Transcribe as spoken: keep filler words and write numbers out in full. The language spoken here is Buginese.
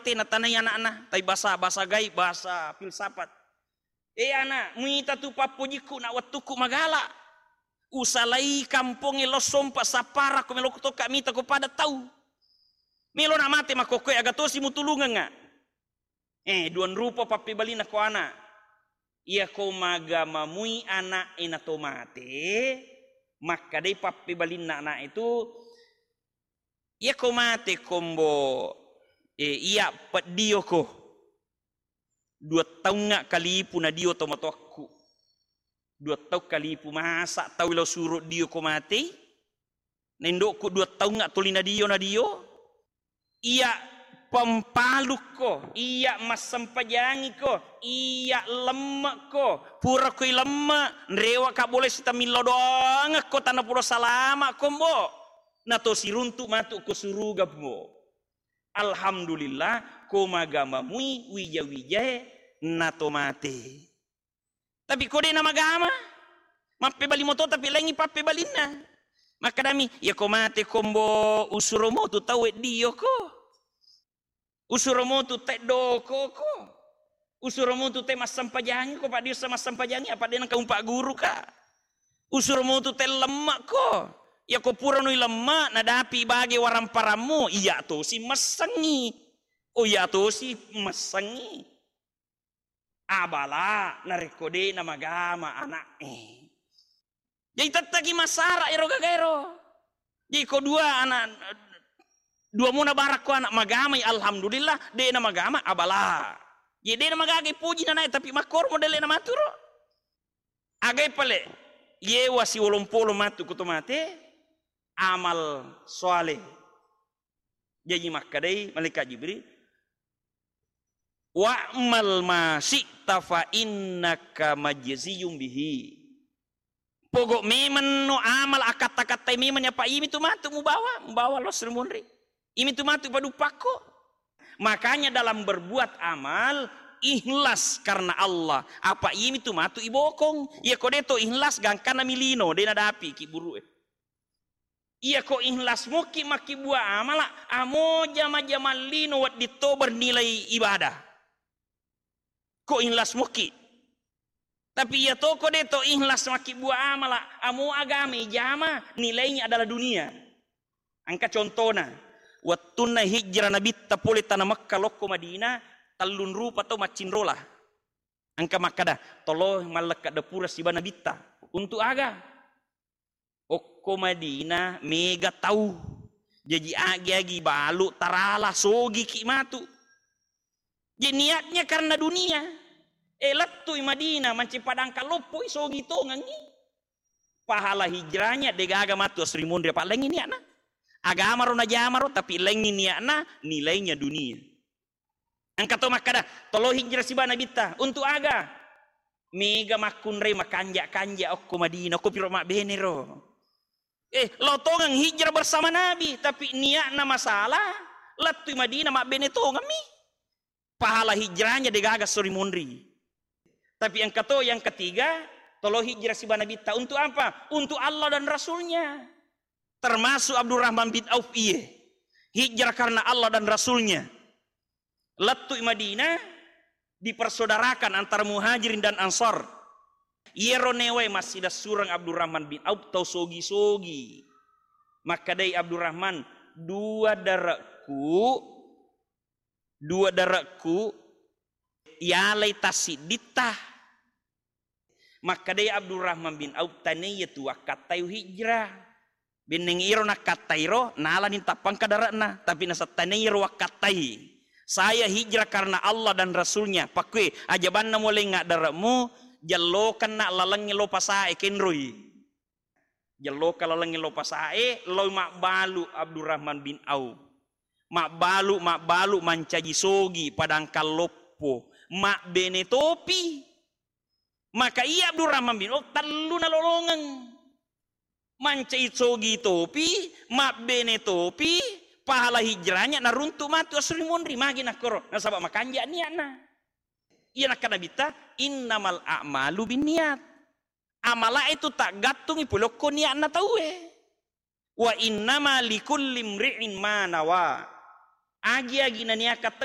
Tena tanai ana'na, tapi bahasa, bahasa gaib, bahasa filsafat. "Eh, ana', muita tu pappojikku na wettukku magala. Usalai kampongnge lao sompa sapparakko, melo tokka mita ko pada tau. Melo na mate makkokkoe, aga tosi mutulungengnga?" Eh, duang rupa pappebalinna ko ana'. Iyako magamamui ana'e nato mate, makkadai pappebalinna ana'e tu, "Iyako mate kombo, eh, iya peddioko. Dua taungnga kalipu nadio tomatoakku. Dua taung kalipu, masa tau lao suro dioko matei? Na indokku dua taungnga toli nadio, nadio. Iya pempalukko, iya massempajangiko, iya lemmekko. Purako ilemme, nrewaka boleh sitamillo doangekko, tana pulo salama kombo. Nato siruntu matu ko suruga, mbo." Alhamdulillah, ko magamamui wija-wijae nato mate. Tapi ko de' namagama, mappebali moto tapi laingi pappebalinna. Makkadami, "Iyako mate kombo usuro motu tau weddioko. Usuro motu te dokoko. Usuro motu te massempajangi ko, paddiussa massempajangi, apa de' nengka umpagguruka. Usuro motu te lemmekko. Iyako purano ilemme, nadapi bage waramparammu, iya tosi messengi. Oh, iya tosi messengi." Abala narekko de' namagama ana'e. Jadi tettaki massara ero gaga ero. Jadi ko dua ana', dua mona barakko ana' magamai, alhamdulillah, de' namagama, abala. Jadi de' namagaga poji nanae, tapi makkoro modelle namaturo. Agai pale, yewa siwolompolo matu ko to mate, amal soale. Jaji makkadai malaikat Jibril, "Wa'mal ma syi'ta fa innaka majziyun bihi." Pogo memenno amal, akatta-kattai memenni, apa iyami tu matu mubawa, mubawa lo sri munri. Iyami tu matu paduppakko. Makanya dalam berbuat amal, ikhlas karena Allah. Apa iyami tu matu ibokong. Iyako de' to ikhlas, gangkanna milino, de' nadapi ki buru'e. Iyako ikhlas mukki makkibbua amala, amo jama-jamang lino wedding to bernilai ibadah. Ko ikhlas mukki. Tapi iya toko de' to ikhlas makkibbua amala, amo agama ijama, nilainya adalah dunia. Engka contona, wettunna hijrah Nabitta pole tana Mekka lokko Madinah, tellung rupa to maccinrola. Engka makkada, "Tolo mallekka dapura siba Nabitta." Untuk aga? Okko Madinah mega tau. Jaji agi-agi balu tarala, sogiki matu. Jadi niatnya karena dunia. Eh, lettui Madinah, manci padangka loppoi, sogi tongengi. Pahala hijrahnya degaga matu asri munri, apa laingi niatna. Agamaro najamaro, tapi laingi niatna, nilainya dunia. Engka to makkada, "Tolo hijrah siba Nabitta." Untuk aga? Mega makkunrai makanja-kanja okko Madinah, okko piro mabbene ro. Eh, lao tongeng hijrah bersama Nabi, tapi niatna masalah, lettui Madinah mabbene tongemmi. Pahala hijrahnya degaga sori munri. Tapi engka to yang ketiga, tolo hijrah siba Nabitta. Untuk apa? Untuk Allah dan Rasulnya. Termasuk Abdurrahman bin Auf iye. Hijrah karena Allah dan Rasulnya. Lettui Madinah, dipersaudarakan antara Muhajirin dan Ansar. Iyaro newae massidassureng Abdurrahman bin Auf tau sogi-sogi. Makkedai Abdurrahman, "Dua dare'ku, dua dare'ku yalai tassidditta." Makkedai Abdurrahman bin Auf, "Tanaiya tu wakkattai hijrah. Benneng iro nakkattairo, nalani tappangka dare'na, tapi nasattanai iro wakkattai. Saya hijrah karena Allah dan Rasulnya." Pakkue, ajabanna mulai ngaddare'mu, jellokenna lalengnge lo pasae kenroi. Jelloka lalengnge lo pasae, loi mabbalu Abdurrahman bin Auf. Mabbalu, mabbalu mancaji sogi padangkang loppo. Mabbene topi. Maka iya Abdurrahman bin Auf tellu nalolongeng. Mancai sogi topi, mabbene topi, pahala hijrahnya naruntu matu asri monri, magi nakkoro, nasaba makanja niatna. Iya nakkeda Nabitta, "Innamal a'malu binniyat." Amala itu taggattungi pole okko niatna tauwe. "Wa innama likulli imri'in ma nawa." Agi-agi naniaka tau